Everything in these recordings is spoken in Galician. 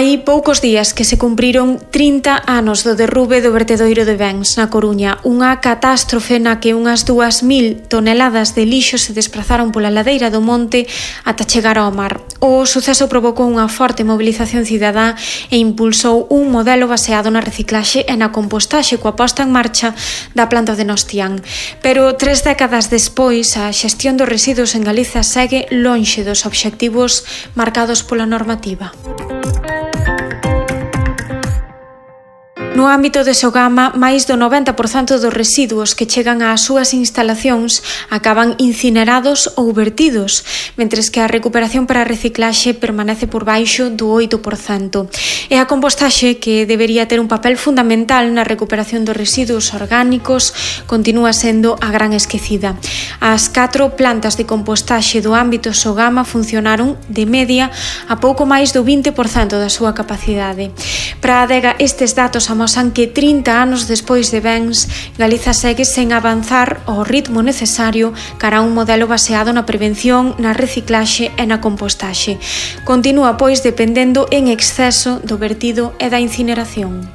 Hai poucos días que se cumpriron 30 anos do derrube do vertedoiro de Bens, na Coruña, unha catástrofe na que unhas 2.000 toneladas de lixo se desprazaron pola ladeira do monte ata chegar ao mar. O suceso provocou unha forte mobilización cidadá e impulsou un modelo baseado na reciclaxe e na compostaxe coa posta en marcha da planta de Nostián. Pero 3 décadas despois, a xestión dos residuos en Galiza segue lonxe dos obxectivos marcados pola normativa. No ámbito de Sogama, máis do 90% dos residuos que chegan ás súas instalacións acaban incinerados ou vertidos, mentres que a recuperación para a reciclaxe permanece por baixo do 8%. E a compostaxe, que debería ter un papel fundamental na recuperación dos residuos orgánicos, continúa sendo a gran esquecida. As 4 plantas de compostaxe do ámbito Sogama funcionaron, de media, a pouco máis do 20% da súa capacidade. Para a adega, estes datos amosan que 30 anos despois de Bens, Galiza segue sen avanzar ao ritmo necesario cara a un modelo baseado na prevención, na reciclaxe e na compostaxe. Continúa, pois, dependendo en exceso do vertido e da incineración.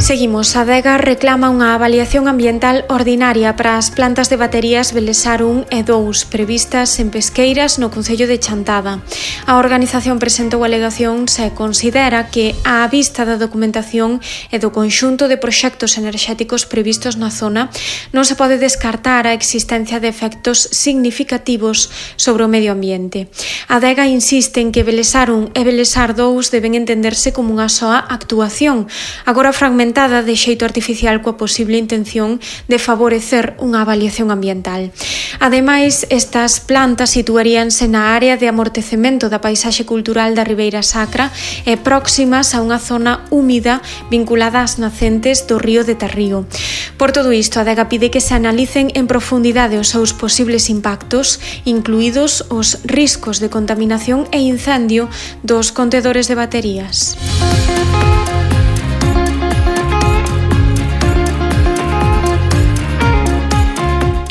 Seguimos. A adega reclama unha avaliación ambiental ordinaria para as plantas de baterías Belesar 1 e 2 previstas en Pesqueiras, no concello de Chantada. A organización presentou alegacións e considera que, á vista da documentación e do conxunto de proxectos enerxéticos previstos na zona, non se pode descartar a existencia de efectos significativos sobre o medio ambiente. A adega insiste en que Belesar 1 e Belesar 2 deben entenderse como unha soa actuación, agora fragmentada de xeito artificial coa posible intención de favorecer unha avaliación ambiental. Ademais, estas plantas situaríanse na área de amortecemento da paisaxe cultural da Ribeira Sacra e próximas a unha zona húmida vinculada ás nacentes do río de Tarrío. Por todo isto, a adega pide que se analicen en profundidade os seus posibles impactos, incluídos os riscos de contaminación e incendio dos contedores de baterías.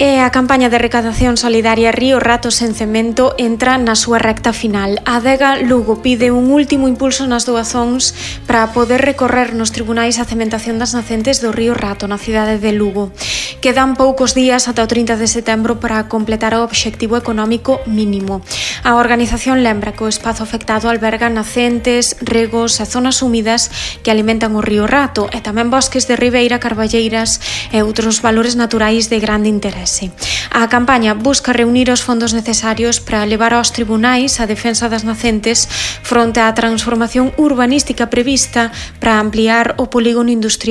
E a campaña de recadación solidaria Río Rato sen Cemento entra na súa recta final. A adega Lugo pide un último impulso nas doazóns para poder recorrer nos tribunais a cementación das nacentes do Río Rato na cidade de Lugo. Quedan poucos días ata o 30 de setembro para completar o obxectivo económico mínimo. A organización lembra que o espazo afectado alberga nacentes, regos e zonas húmidas que alimentan o Río Rato e tamén bosques de ribeira, carballeiras e outros valores naturais de grande interese. A campaña busca reunir os fondos necesarios para levar aos tribunais a defensa das nacentes fronte á transformación urbanística prevista para ampliar o polígono industrial